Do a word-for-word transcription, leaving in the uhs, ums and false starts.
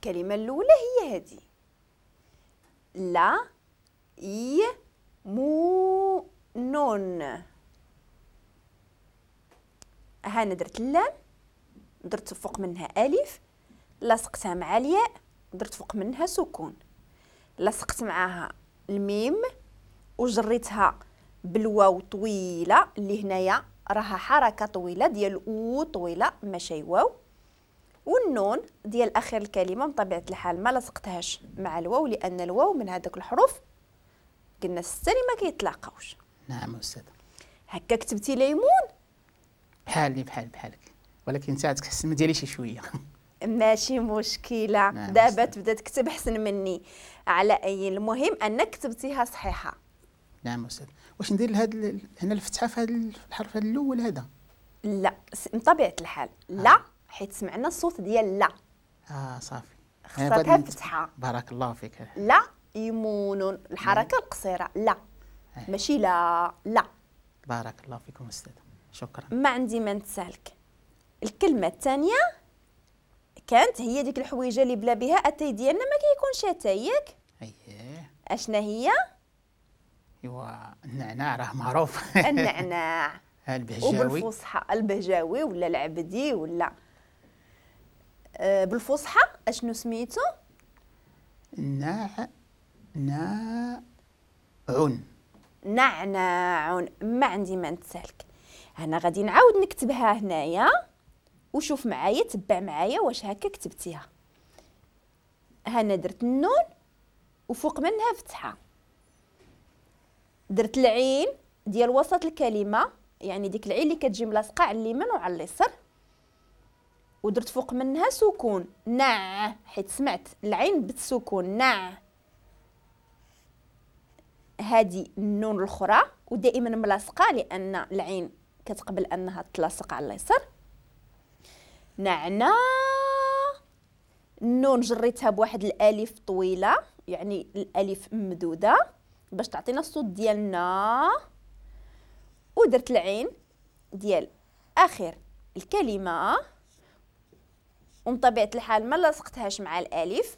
الكلمة الاولى هي هذه لا ي مو نون. هانا درت اللام، درت فوق منها الف، لصقتها مع الياء، درت فوق منها سكون، لصقت معاها الميم وجريتها بالواو طويلة اللي هنايا راها حركة طويلة ديال او طويلة ماشي واو، والنون ديال اخر الكلمة بطبيعة الحال ما لصقتهاش مع الواو لان الواو من هذوك الحروف قلنا ستة اللي ما كيتلاقاوش. نعم استاذ. هكا كتبتي ليمون؟ بحالي بحال بحالك، ولكن انت عندك حسن من ديالي شي شوية. ماشي مشكلة. نعم دابا تبدا تكتب احسن مني. على اي المهم انك كتبتيها صحيحه. نعم استاذ. واش ندير لهاد هنا الفتحة في هذا الحرف هذا الاول هذا؟ لا بطبيعة الحال لا. آه. حيت سمعنا الصوت ديال لا. اه صافي خصها فتحه. بارك الله فيك. لا يمون الحركة القصيرة لا. آه. ماشي لا لا. بارك الله فيكم استاذ، شكرا. ما عندي ما نتسالك. الكلمة الثانية كانت هي ديك الحويجه اللي بلا بها اتاي ديالنا ما كيكونش اتاي، ياك؟ اييه. اشنا هي؟ ايوا النعناع راه معروف. النعناع البهجاوي. وبالفصحى البهجاوي ولا العبدي ولا آه بالفصحى اشنو سميتو؟ نع ناعون. نعناع. ما عندي ما نتسالك. انا غادي نعاود نكتبها هنايا وشوف معايا، تبع معايا واش هكا كتبتيها. هنا درت النون وفوق منها فتحه، درت العين ديال وسط الكلمة يعني ديك العين اللي كتجي ملاصقه على اليمين وعلى اليسار، ودرت فوق منها سكون نع حيت سمعت العين بالسكون نع. هذه النون الاخرى ودائما ملاصقه لان العين كتقبل انها تلاصق على اليسار. نعنا النون جريتها بواحد الالف طويلة يعني الالف ممدوده باش تعطينا الصوت ديالنا، ودرت العين ديال اخر الكلمة ومن طبيعة الحال ما لصقتهاش مع الالف.